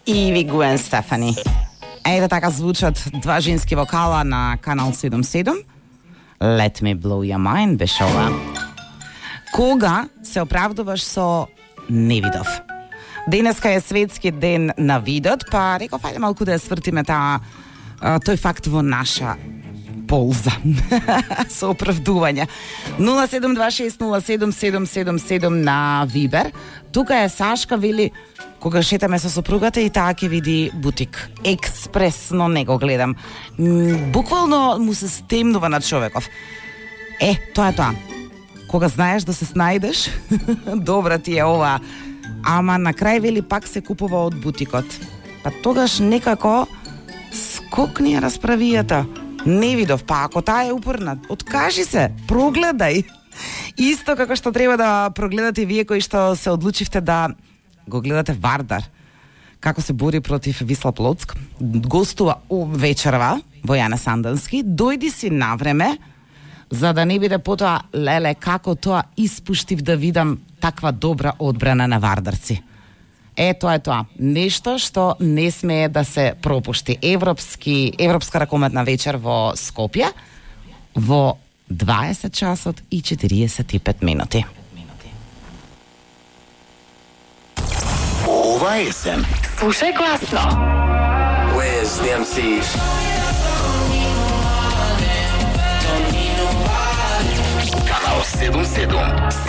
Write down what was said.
Иви Гуен Стефани. Ете така звучат два женски вокала на Канал 77. Let me blow your mind беше ова. Кога се оправдуваш со не видов? Денеска е светски ден на видот, па реков ајде малку да ја свртиме тој факт во наша полза. Со оправдување. 072607777 на Вибер. Тука е Сашка, вели, кога шетаме со сопругата и таа ќе види бутик. Експресно не го гледам. Буквално му се стемнува на човеков. Тоа е тоа. Кога знаеш да се снајдеш, добра ти е ова. Ама на крај вели пак се купува од бутикот. Па тогаш некако скокни расправијата. Не видов, па ако таа е упорна, откажи се, прогледај. Исто како што треба да прогледате вие кои што се одлучивте да го гледате Вардар, како се бори против Висла Плоцк. Гостува вечерва во Јане Сандански. Дојди си на време, за да не биде потоа, леле, како тоа испуштив да видам таква добра одбрана на вардарци. Тоа е тоа. Нешто што не смее да се пропушти. Европска ракометна вечер во Скопје во 20 часот и 45 минути. Ова есен Слушај гласно. Where's the MCs? Канал 77.